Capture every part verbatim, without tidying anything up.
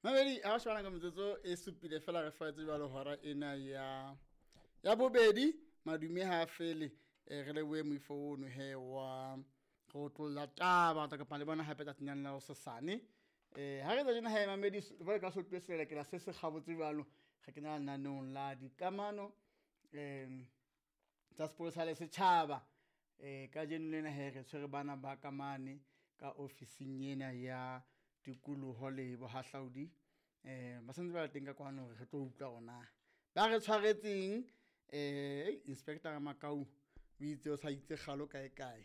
Mamedi ha o shebana ka metsotso e supile fela re faetse jwalo hora ena ya ya bobedi madume ha fele eh, re lebohe moifo ono he wa re otlolla taba tla kopana le bona hape tsatsing la hosasane. Eh ha re tsa tjena he mamedi jwale ka se utlwe selelekela se se kgabotse jwalo re kena lenaneong la dikamano em tsa sepolesa le setjhaba. Eh kajeno lena he re tshwere bana ba ka mane ka ofising ena ya tikoloho le bohahlaudi. Eh ba santse ba le teng ka kwano hore re tlo utlwa hore na ba re tshwaretseng. Eh Inspector Makau o itse o sa itse kgalo kae kae.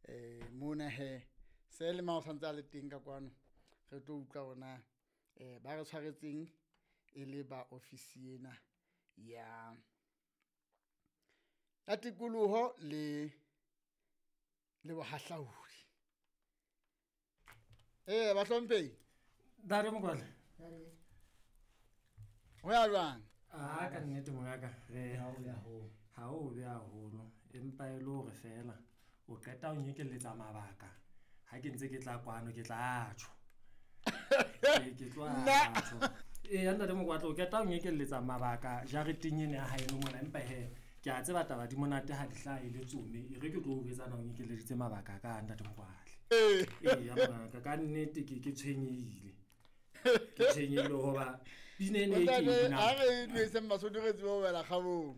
Eh mona he se le ma o santse a le teng ka kwano re tlo utlwa hore na eh ba re tshwaretseng e le ba ofisi ena ya ya tikoloho le le bohahlaudi. Eh bahlomphehi. Ntate Mokwatla. Ho ya jwang? Ah, ka nnete mongaka re Ha o ya ho. Ha o be haholo empa e le hore fela o qeta ho nyekelletsa mabaka ha ke ntse ke tla kwano ke tla tjho. Ke ke tlo Nna. tjho. Ee ntate Mokwatla o qeta ho nyekelletsa mabaka jareteng ena ya haeno mona empa he ke a tseba taba di monate ha di hlahe le tsome e re ke tlo o jwetsa na o nyekelleditse mabaka ka ntate Mokwatla. Eh. Ee ya mongaka ka nnete ke ke tshwenyehile. Ke tshwenyehile hoba pina ena e ke e Ntate, binang. ha re nweseng Basotho re tsebe ho wela kgabong.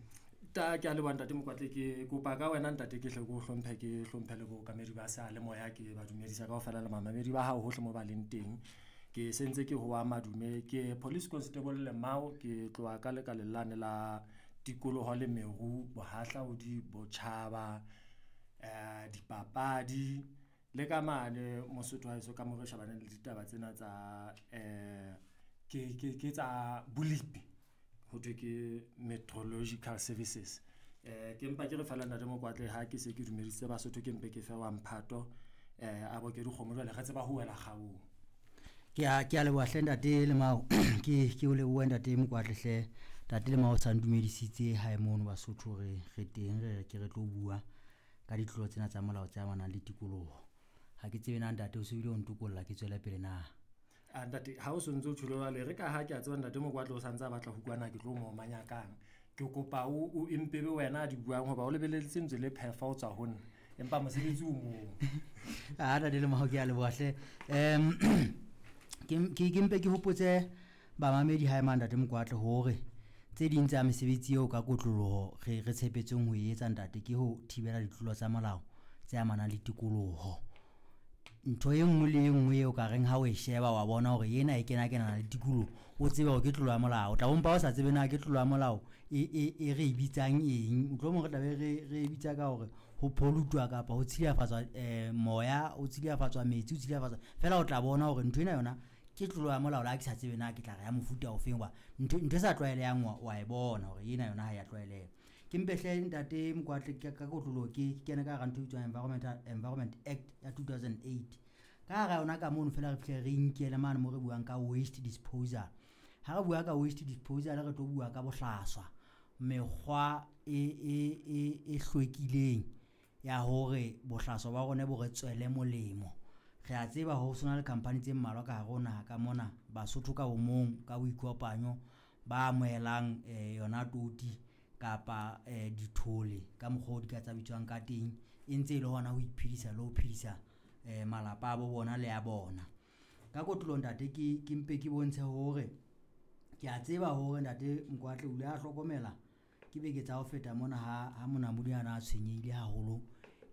Ta ke a leboha ntate Mokwatla ke kopa ka wena ntate ke hle ke o hlomphe ke hlomphe le bookamedi ba seyalemoya ke ba dumedisa kaofela le mamamedi ba hao hohle mo ba leng teng. Ke sentse ke hoa madume ke police constable Lemao ke tloha ka lekaleng lane la tikoloho le meru bohahlaudi botjhaba eh dipapadi le ka mane Mosotho wa heso ka mo re shebaneng le ditaba tsena tsa eh ke ke ke tsa bolipi ho thwe ke meteorological services. Eh ke mpa ke re fela ntate Mokwatla ha ke se ke dumedisitse Basotho ke mpe ke fe wa mphato eh a boke dikgomo jwale re tseba ho wela kgaong. Ke a ke a leboha hle ntate Lemao ke ke o lebohe ntate Mokwatla hle ntate Lemao sa ndumedisitse hae mono Basotho re re teng re ke re tlo bua ka ditlolo tsena tsa molao tse amanang le tikoloho. Ha ke tsebe na ntate o se bile o ntokolla ke tswele pele na. A ntate ha o sontse o tjholo jwale re ka ha ke a tseba ntate Mokwatla o santse a batla ho kwana ke tlo mo omanya kang. Ke kopa o o empebe wena a di buang hoba o lebeletse ntse le phefa o tswa ho nna empa mosebetsi o moo. Ah ntate Lemao ke a leboha hle. Em ke ke ke mpe ke hopotse bamamedi hae mang ntate Mokwatla hore tse ding tsa mesebetsi eo ka kotloloho re re tshepetseng ho e etsa ntate ke ho thibela ditlolo tsa molao tse amanang le tikoloho. Ntho e nngwe le e nngwe eo ka reng ha o e sheba wa bona hore ena e kena kenana le tikoloho o tsebe hore ke tlolo ya molao. O tla bompa o sa tsebe na ke tlolo ya molao e e e re e bitsang eng. Mohlomong re tla be re re e bitsa ka hore ho pollute-wa kapa ho tshilafatswa eh moya, ho tshilafatswa metsi, ho tshilafatswa fela o tla bona hore ntho ena yona ke tlolo ya molao le ha ke sa tsebe na ke tla re ya mofuta ofeng hoba ntho ntho e sa tlwaelehang wa wa e bona hore ena yona ha ya tlwaeleha. Ke mpe hle ntate Mokwatla ka ka kotloloho ke kene ka hara ntho e bitswang Environmental Environment Act ya two thousand eight. Ka hara yona ka mono fela re fihle re inkele mane mo re buang ka waste disposal. Ha re bua ka waste disposal re tlo bua ka bohlaswa, mekgwa e e e e hlwekileng ya hore bohlaswa ba rona bo re tswele molemo. Re a tseba ho sona le company tse mmalwa ka hare ho naha ka mona Basotho ka bomong ka boikopanyo ba amohelang eh yona toti kapa eh dithole ka mokgwa o di ka tsa bitswang ka teng e ntse e le hona ho iphedisa le ho phedisa eh malapa a bo bona le a bona. Ka kotloloho ntate ke ke mpe ke bontshe hore ke a tseba hore ntate Mokwatla o ile a hlokomela ke beke tsa ho feta mona ha ha monamodi a na a tshwenyehile haholo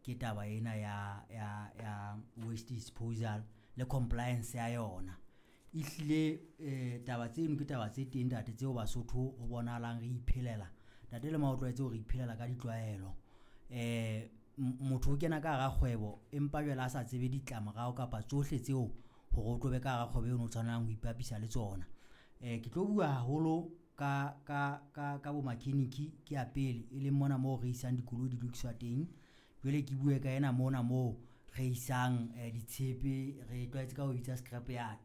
ke taba ena ya ya ya waste disposal le compliance ya yona. Ehlile eh taba tseno ke taba tse teng ntate tseo Basotho ho bonahalang re iphelela. Ntate Lemao o tlwaetse hore iphelela ka ditlwaelo. Eh motho o kena ka hara kgwebo empa jwale a sa tsebe ditlamorao kapa tsohle tseo hore o tlo be ka hara kgwebo eno o tshwanelang ho ipapisa le tsona. Eh ke tlo bua haholo ka ka ka ka bo mechanic ke ya pele e leng mona moo re isang dikoloi di lokiswa teng. Jwale ke bue ka ena mona moo re isang ditshepe re tlwaetse ka ho bitsa scrap yard.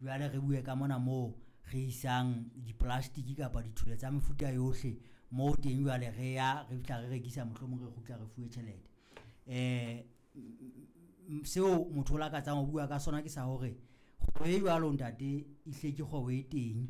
Jwale re bue ka mona moo re isang di-plastic kapa dithole tsa mefuta yohle moo teng jwale re ya re fihla re rekisa mohlomong re kgutla re fuwe tjhelete. Eh seo motho o lakatsang ho bua ka sona ke sa hore Kgwebo e jwalo ntate e hle ke kgwebo e teng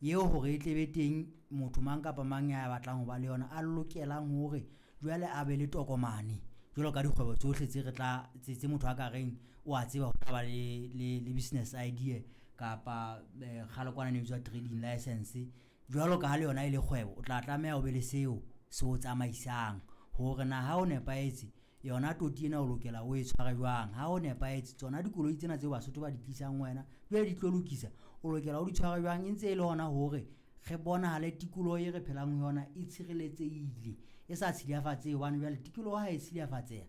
eo hore e tle be teng motho mang kapa mang ya batlang ho ba le yona a lokelang hore jwale a be le tokomane jwalo ka dikgwebo tsohle tse re tla tse tse motho a ka reng o a tseba ho tla ba le le le business idea kapa kgale kwana ne bitswa trading licence. Jwalo ka ha le yona e le kgwebo, o tla tlameha o be le seo se o tsamaisang hore na ha o nepahetse yona toti ena o lokela o e tshware jwang. Ha o nepahetse tsona dikoloi tsena tseo Basotho ba di tlisang ho wena jwale di tlo lokisa, o lokela o di tshware jwang. E ntse e le hona hore re bonahale tikoloho e re phelang ho yona e tshireletsehile, e sa tshilafatsehe hobane jwale tikoloho ha e tshilafatseha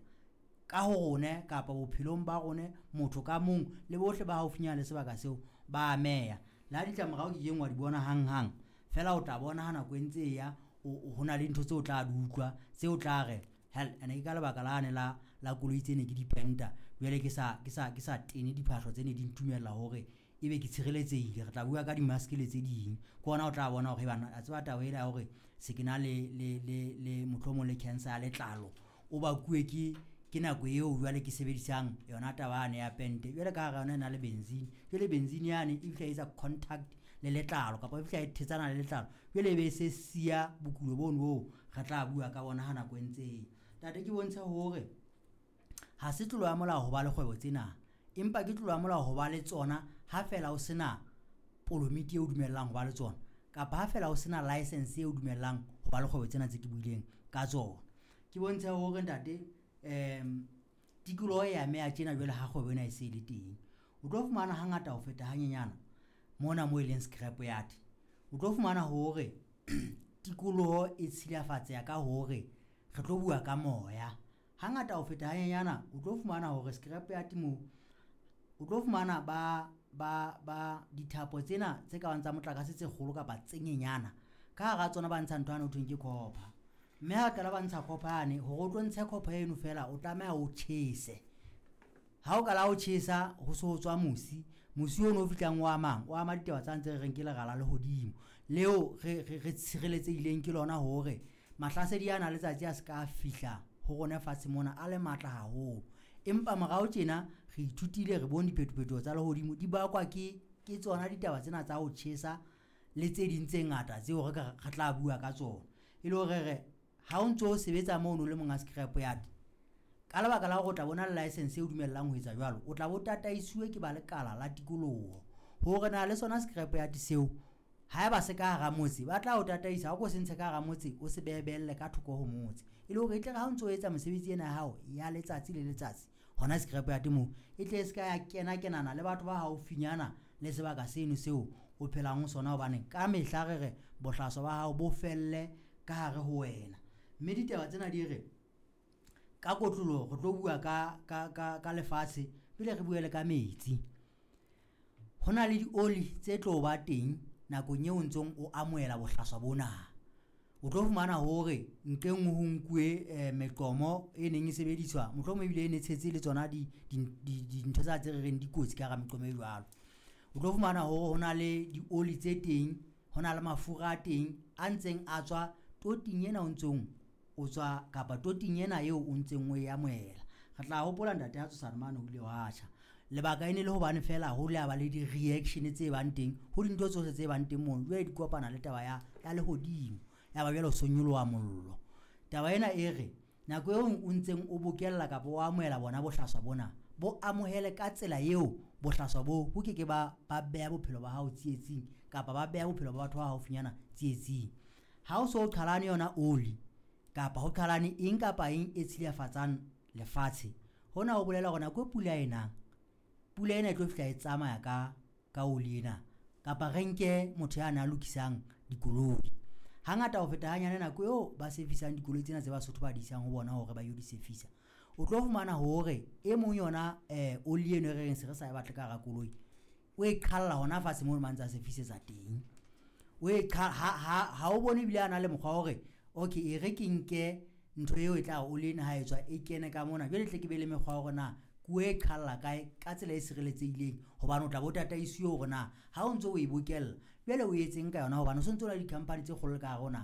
ka ho rona kapa bophelong ba rona motho ka mong le bohle ba haufinyana le sebaka seo ba ameha. Le ha ditlamorao o kekeng wa di bona hanghang, feela o tla bona ha nako e ntse e ya ho na le ntho tseo o tla di utlwa tseo tla re hell ene ke ka lebaka lane la la koloi tse ne ke di penta. Jwale ke sa ke sa ke sa tene diphahlo tse ne di ntumella hore ebe ke tshireletsehile. Re tla bua ka di-mask le tse ding, ke ona o tla bona hore bana a tseba taba ena ya hore se ke na le le le le mohlomong le cancer ya letlalo o bakuwe ke ke nako eo jwale ke sebedisang yona taba yane ya pente. Jwale ka hara yona e na le benzene, jwale benzene yane e fihla e etsa contact le letlalo kapa e fihla e thetsana le letlalo, jwale e be se siya bokulo bono boo re tla bua ka bona ha nako e ntse e ya. Ntate ke bontshe hore ha se tlolo ya molao ho ba le kgwebo tsena, empa ke tlolo ya molao ho ba le tsona ha feela o sena polomiti eo dumellang ho ba le tsona, kapa ha feela o sena license eo dumellang ho ba le kgwebo tsena tse ke buileng ka tsona. Ke bontshe hore ntate um tikoloho e ameha tjena jwale ha kgwebo ena e se e le teng. O tlo fumana hangata ho feta hanyenyana mona moo e leng scrap yard, o tlo fumana hore tikoloho e tshilafatseha ka hore re tlo bua ka moya. Hangata ho feta hanyenyana o tlo fumana hore scrap yard moo o tlo fumana ba ba ba dithapo tsena tse ka bang tsa motlakase tse kgolo kapa tse nyenyana ka hara tsona ba ntsha ntho yane ho thweng ke copper. Mme ha qala ba ntsha copper yane, hore o tlo ntshe copper eno feela o tlameha o tjhese. Ha o qala o tjhesa ho so ho tswa mosi, mosi ono o fihlang o amang o ama ditaba tsa ntse re reng ke lera la lehodimo leo re re re tshireletsehileng ke lona hore mahlasedi ana a letsatsi a se ka fihla ho rona fatshe mona a le matla haholo. Empa morao tjena re ithutile, re bone diphetophetoho tsa lehodimo di bakwa ke ke tsona ditaba tsena tsa ho tjhesa le tse ding tse ngata tseo re ka re tla bua ka tsona. E le hore re ha o ntso sebetsa mono le monga scrap yard, ka lebaka la hore o tla bona le license e o dumellang ho etsa jwalo, o tla bo tataisuwe ke ba lekala la tikoloho hore na le sona scrap yard seo haeba se ka hara motse ba tla o tataisa ha o ko se ntshe ka hara motse o se behebelle ka thoko ho motse, e le hore e tle re ha o ntso etsa mesebetsi ena ya hao ya letsatsi le letsatsi hona scrap yard moo e tle e se ka ya kena kenana le batho ba haufinyana le sebaka seno seo o phelang ho sona, hobane ka mehla re re bohlaswa ba hao bo felle ka hare ho wena. Mme ditaba tsena di re ka kotloloho re tlo bua ka ka ka ka lefatshe pele re bue le ka metsi. Ho na le dioli tse tlo ba teng nakong eo o ntsong o amohela bohlaswa bona. O tlo fumana hore nqe nngwe ho nkuwe meqomo e neng e sebediswa, mohlomong ebile e ne tshetse le tsona di di dintho tsa tse re reng dikotsi ka hara meqomo e jwalo. O tlo fumana hore ho na le dioli tse teng, ho na le mafura a teng a ntseng a tswa toting ena o ntsong o tswa kapa toting ena eo o ntseng o e amohela. Re tla hopola ntate ha Tshosane mane ho ile hwa tjha. Lebaka e ne le hobane feela ho le ba le di-reaction tse bang teng ho dintho tsohle tse bang teng mono, jwale di kopana le taba ya ya lehodimo, ya ba jwale ho so nyoloha mollo. Taba ena e re nako eo o ntseng o bokella kapa o amohela bona bohlaswa bona, bo amohele ka tsela eo bohlaswa bo bo keke ba ba beha bophelo ba hao tsietsing kapa ba beha bophelo ba batho ba haufinyana tsietsing. Ha o so qhalane yona oli kapa ho qhalane eng kapa eng e tshilafatsang lefatshe, hona ho bolela hore nako e pula e nang, pula ena e tlo fihla e tsamaya ka ka oli ena, kapa re nke motho ya na lokisang dikoloi. Hangata ho feta hanyane nako eo ba service-ang dikoloi tsena tse Basotho ba di isang ho bona hore ba yo di service-a, o tlo fumana hore e mong yona oli eno e re reng se re sa e batle ka hara koloi, o e qhalla hona fatshe moo ba ntsa service-etsa teng. O e ha ha ha o bone ebile a na le mokgwa wa hore okay e re ke nke ntho eo e tla oli ena ha e tswa e kene ka mona, jwale tle ke be le mekgwa ya hore na ke o e qhalla kae ka tsela e sireletsehileng, hobane o tla bo tataisiwe hore na ha o ntso o e bokella jwale o etseng ka yona, hobane o sontso o na le di-company tse kgolo ka hare ho naha.